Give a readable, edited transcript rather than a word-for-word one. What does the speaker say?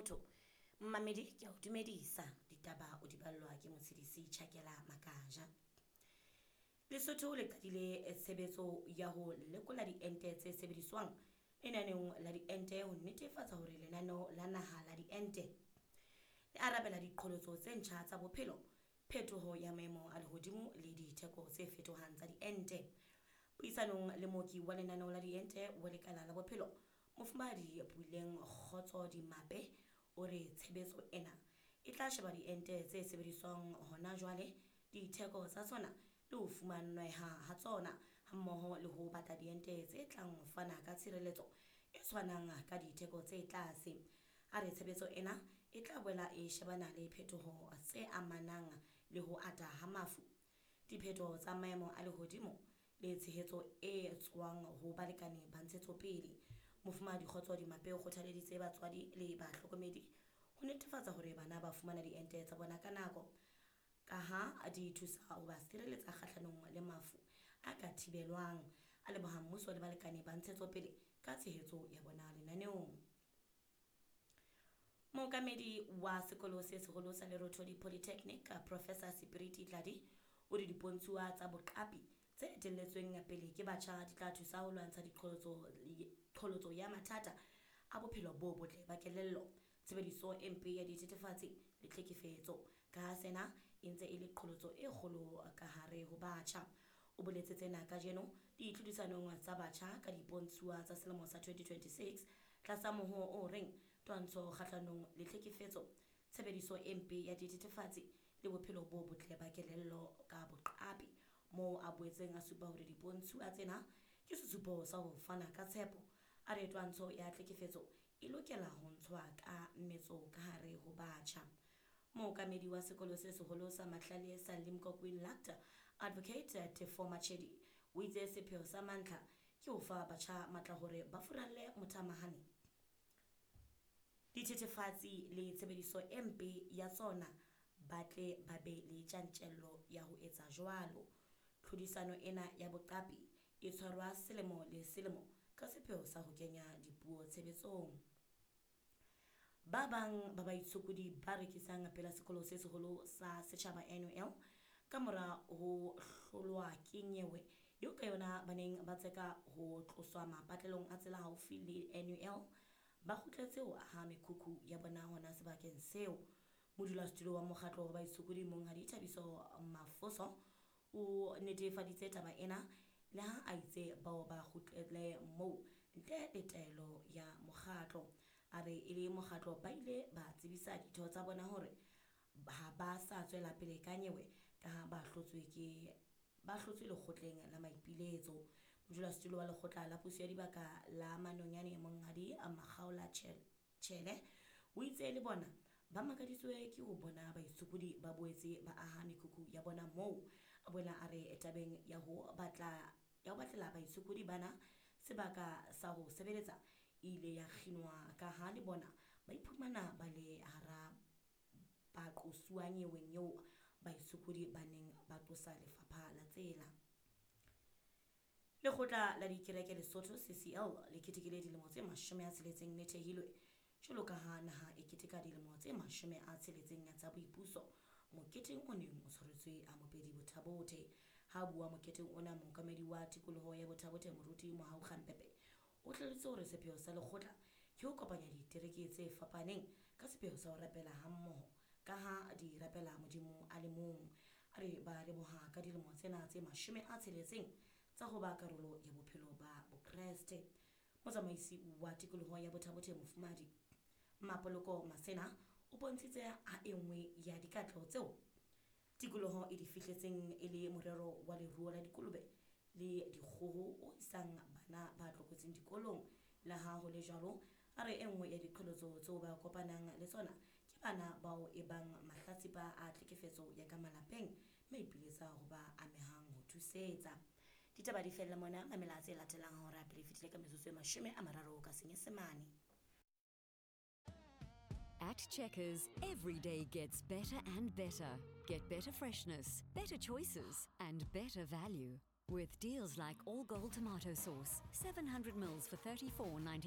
Lesotho. Mmamedi ke a o dumedisa, ditaba o di ballwa ke Motshedisi Chakela Makaja. Lesotho le qadile tshebetso ya ho lekola diente tse sebediswang lenaneong la diente ho netefatsa hore lenaneo la naha la diente le arabela diqholotso tse ntjha tsa bophelo, phetoho ya maemo a lehodimo le ditheko tse fetohang tsa diente. Puisanong le mooki wa lenaneo la diente wa lekala la bophelo, Mofumahadi Puleng Kgotso Dimape o re tshebetso ena e tla sheba diente tse sebediswang hona jwale, ditheko tsa tsona le ho fumaneha ha tsona, hammoho le ho batla diente tse tlang ho fana ka tshireletso e tshwanang ka ditheko tse tlase. A re tshebetso ena e tla boela e shebana le phetoho tse amanang le ho ata ha mafu, diphetoho tsa maemo a lehodimo le tshehetso e tswang ho balekane ba ntshetsopele. Mofumahadi Kgotso Dimape o kgothaleditse batswadi le bahlokomedi ho netefatsa hore bana ba fumana diente tsa bona ka nako, ka ha di thusa ho ba sireletsa kgahlanong le mafu a ka thibelwang. A leboha mmuso le balekane ba ntshetsopele ka tshehetso ya bona lenaneong. Mookamedi wa sekolo se seholo sa Lerothodi Polytechnic, Professor Sipiriti Tladi, o re dipontshuwa tsa boqapi tse etelletsweng pele ke batjha di tla thusa ho lwantsha diqholotso ya mathata a bophelo bo botle ba kelello, tshebediso e mpe ya dithethefatsi le tlhekefetso, ka ha sena e ntse e le qholotso e kgolo ka hare ho batjha. O boletse tsena kajeno ditlhodisanong tsa batjha ka dipontshuwa tsa selemo sa 2026 tlasa mohoo o reng twantsho kgahlanong le tlhekefetso, tshebediso e mpe ya dithethefatsi le bophelo bo botle ba kelello ka boqapi, moo a boetseng a supa hore dipontshuwa tsena ke sesupo sa ho fana ka tshepo. A re twantsho ya tlhekefetso e lokela ho ntshwa ka metso ka hare ho batjha. Mookamedi wa sekolo se seholo sa Mahlale sa Limkokwing Lacta, Advocate Tefo Machedi, o itse sepheo sa mantlha ke ho fa batjha matla hore ba furalle mothamahane, dithethefatsi le tshebediso e mpe ya tsona, ba tle ba be le tjantjello ya ho etsa jwalo. Tlhodisano ena ya boqapi e tshwarwa selemo le selemo ka sepheo sa ho kenya dipuo tshebetsong. Ba bang ba baitshokodi ba rekisang pela sekolo se seholo sa setjhaba NUL ka mora ho hlolwa ke nyewe eo ka yona ba neng ba tseka ho tloswa mapatlelong a tsela haufi le NUL, ba kgutletse ho aha mekhukhu ya bona hona sebakeng seo. Modulasetulo wa mokgatlo wa baitshokodi Monghadi Thabiso Mafoso o netefaditse taba ena le ha a itse bao ba kgutlele moo ntle le taelo ya mokgatlo. A re e le mokgatlo ba ile ba tsebisa ditho tsa bona hore ha ba sa tswela pele ka nyewe ka ha ba hlotswe lekgotleng la maipiletso. Modulasetulo wa lekgotla la puso ya dibaka la Manonyane Monghadi Makgaola Tjhele o itse le bona ba makaditswe ke ho bona baitshokodi ba boetse ba aha mekhukhu ya bona moo. A boela a re tabeng ya ho batlela baitshokodi bana sebaka sa ho sebeletsa e ile ya kginwa ka ha le bona ba iphumana ba le hara baqosuwa nyeweng eo baitshokodi ba neng ba qosa lefapha la tsela. Lekgotla la dikereke Lesotho CCL le ketekile dilemo tse 60 le thehilwe jwalo ka ha naha e keteka dilemo tse 60 tsa boipuso moketeng o neng o tshwaretswe a Mopedi Bothabothe. Ha bua moketeng ona, mookamedi wa tikoloho ya Bothabothe Moruti Mohau Kgampepe o hlalositse hore sepheo sa lekgotla ke ho kopanya ditereke tse fapaneng ka sepheo sa ho rapela hammoho ka ha di rapela Modimo a le mong. A re ba leboha ka dilemo tsena tse 60 tsa ho ba karolo ya bophelo ba Bokreste. Motsamaisi wa tikoloho ya Bothabothe Mofumahadi Mapoloko Masena o bontshitse ha e nngwe ya dikatleho tseo tikoloho e di fihletseng e le morero wa leruo la dikolobe le dikgoho o isang bana ba tlokotsing dikolong. Le ha ho le jwalo, a re e nngwe ya diqholotso tseo ba kopanang le tsona ke bana bao e bang mahlatsipa a tlhekefetso ya ka malapeng, mme ipiletsa ho ba amehang ho thusetsa. Ditaba di fella mona, mamela tse latelang hora pele fetile ka metsotso e 30 ka Senyesemane. At Checkers, every day gets better and better. Get better freshness, better choices, and better value. With deals like all gold tomato sauce, 700 mils for $34.99.